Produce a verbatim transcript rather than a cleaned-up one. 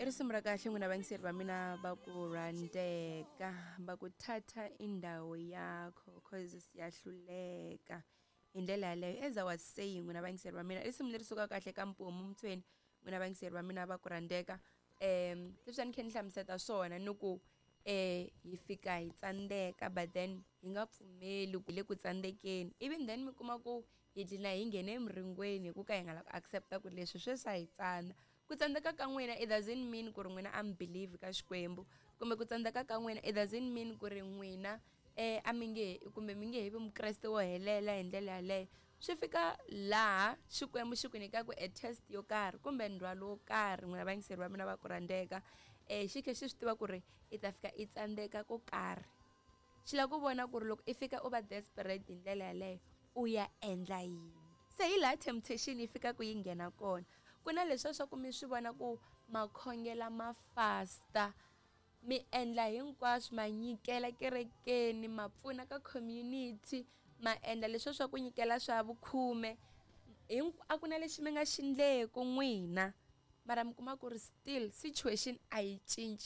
I risimu ra kahle n'wina vayingiseri va mina va ku rhandzeka va ku thatha indawo yakho cause siyahluleka hi ndlela yaleyo. As I was saying, n'wina vayingiseri va mina, i risimu leri sukaka kahle ka Mpomu Mtshweni, n'wina vayingiseri va mina va ku rhandzeka. um leswi a ni kha ni hlamuseta swona ni ku eh hi fika hi tsandzeka, but then hi nga pfumeli ku hi le ku tsandzekeni. Even then mi kuma ku hi dlina hi nghene emiringweni hi ku ka hi nga lavi ku accepta ku leswi sweswi a hi tsana. Ku tsandzeka ka n'wina, it doesn't mean ku ri n'wina a mi believe ka Xikwembu, kumbe ku tsandzeka ka n'wina, it doesn't mean ku ri n'wina eh a mi nge kumbe mi nge he vi mukreste wo helela hi ndlela yaleyo. Swi fika laha Xikwembu xi ku nyikaka e test yo karhi kumbe ndzhwalo wo karhi, n'wina vayingiseri va mina va ku rhandzeka, eh xi khe xi swi tiva ku ri i ta fika i tsandzeka ko karhi. Xi lava ku vona ku ri loko i fika u va desperate hi ndlela yaleyo, u ya endla yini. Se hi laha temptation yi fikaka yi nghena kona. Ku na leswiya swa ku mi swi vona ku makhongela ma fasta, mi endla hinkwaswo, ma nyikela kerekeni, ma pfuna ka community, ma endla leswiya swa ku nyikela swa vukhume, a ku na lexi mi nga xi endleku n'wina, mara mi kuma ku ri still situation a yi cinci.